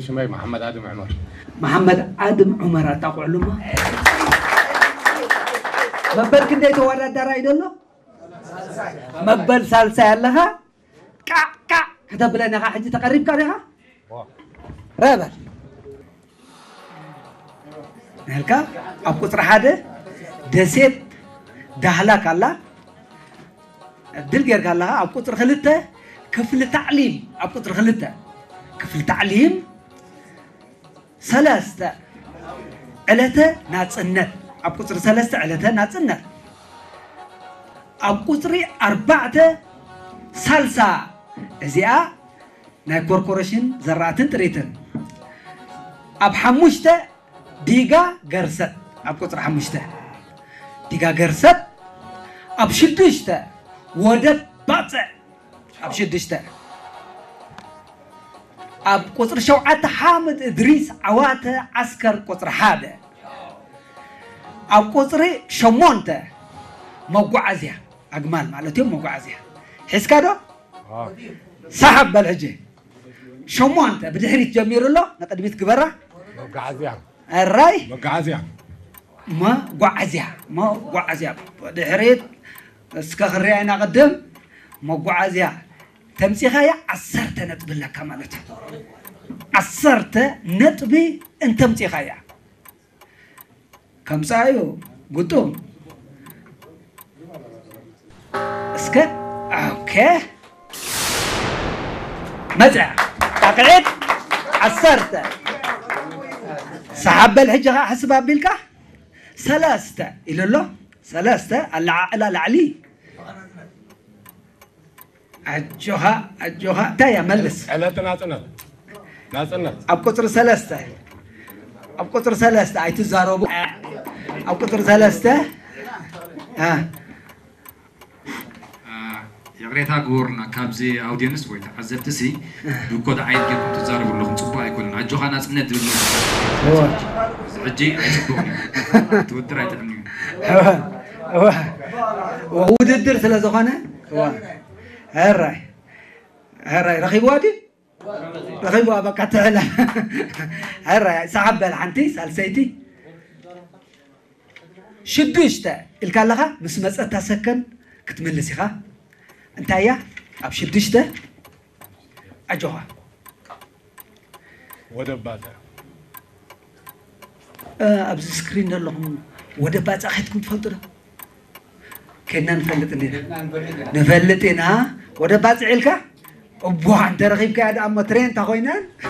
ሽመይ መሓመድ ኣድም ዑመር። መሓመድ ኣድም ዑመር ኣጣቕዕሉማ። መበል ክንደይ ተወዳዳራይ ደሎ? መበል ሳልሳይ ኣለኻ? ቃዕ ቃዕ ከተብለና ኢኻ ሕጂ ተቐሪብካ ዲኻ? ረበል ናልካ ኣብ ቁጽሪ ሓደ ደሴት ዳህላክ ኣላ። ዕድል ጌርካ ኣለኻ። ኣብ ቁጽሪ ክልተ ክፍሊ ታዕሊም፣ ኣብ ቁጽሪ ክልተ ክፍሊ ታዕሊም ሰለስተ ዕለተ ናጽነት፣ ኣብ ቁጽሪ ሰለስተ ዕለተ ናጽነት፣ ኣብ ቁጽሪ ኣርባዕተ ሳልሳ፣ እዚኣ ናይ ኮርፖሬሽን ዘራእትን ጥሪትን፣ ኣብ ሓሙሽተ ዲጋ ገርሰት፣ ኣብ ቁጽሪ ሓሙሽተ ዲጋ ገርሰት፣ ኣብ ሽዱሽተ ወደብ ባጽዕ፣ ኣብ ሽዱሽተ፣ ኣብ ቁጽሪ ሸውዓተ ሓምድ እድሪስ ዓዋተ ዓስከር ቁጽሪ ሓደ፣ ኣብ ቁጽሪ ሸሞንተ መጓዓዝያ ኣግማል ማለት እዮም። መጓዓዝያ ሒዝካ ዶ? ሰሓብ በል ሕጂ። ሸሞንተ ብድሕሪት ጀሚሩ ኣሎ፣ ንቕድሚት ግበራ። መጓዓዝያ። ኣራይ መጓዓዝያ። መጓዓዝያ፣ መጓዓዝያ። ብድሕሪት እስከ ክርያ ኢና ቅድም። መጓዓዝያ ተምጺኻያ ዓሰርተ ነጥቢ ኣለካ ማለት እዩ። ዓሰርተ ነጥቢ እንተምጺኻያ። ከምጻዩ ግጡም። እስከ ኦኬ። መጽያ ጣቕዒት ዓሰርተ። ሰሓብ በል ሕጂ ኸዓ ሕስብ ኣቢልካ። ሰለስተ ኢሉ ኣሎ። ሰለስተ ኣለዓዕላ ላዕሊ። ኣጆኻ ኣጆኻ እንታይ እያ መልስ? ዕለተ ናጽነት። ናጽነት። ኣብ ቁጽሪ ሰለስተ፣ ኣብ ቁጽሪ ሰለስተ ኣይትዛረቡ። ኣብ ቁጽሪ ሰለስተ። እ። እ፣ ይቕሬታ ግበሩልና፣ ካብዚ ኣውድየንስ ወይ ተዓዘብቲ ሲ ብኮድ ዓይን ጌርኩም ትዛረቡ ኣለኹም፣ ጽቡቕ ኣይኮነን። ኣጆኻ ናጽነት ዝብል መልሲ። እወ። እዚ ሕጂ ኣይጽቡቕን እዩ። ትውድር ኣይጥዕምን እዩ። እወ፣ እወ። ውድድር ስለ ዝኾነ፣ እወ። ሕራይ፣ ሕራይ፣ ረኺብዋ ድዩ? ረኺብዋ፣ በቃ ትሕለ። ሕራይ፣ ሰሓብ በል ሓንቲ፣ ሳልሰይቲ። ሽዱሽተ ኢልካ ኣለኻ፣ ምስ መጸታ ሰከን ክትምልስ ኢኻ። እንታይ እያ? ኣብ ሽዱሽተ፣ ኣጆኻ። ወደብ ባጽዕ። እ፣ ኣብዚ ስክሪን ዘለኹም ወደብ ባጽዕ ከይድኩም ትፈልጡ ዶ? ከድና ንፈልጥ እንዲና። ንፈልጥ ኢና። ወደብ ባጽዕ ኢልካ? እቧ፣ እንተ ረኺብካያ ደኣ እሞ ትሬን እንተ ኮይነን።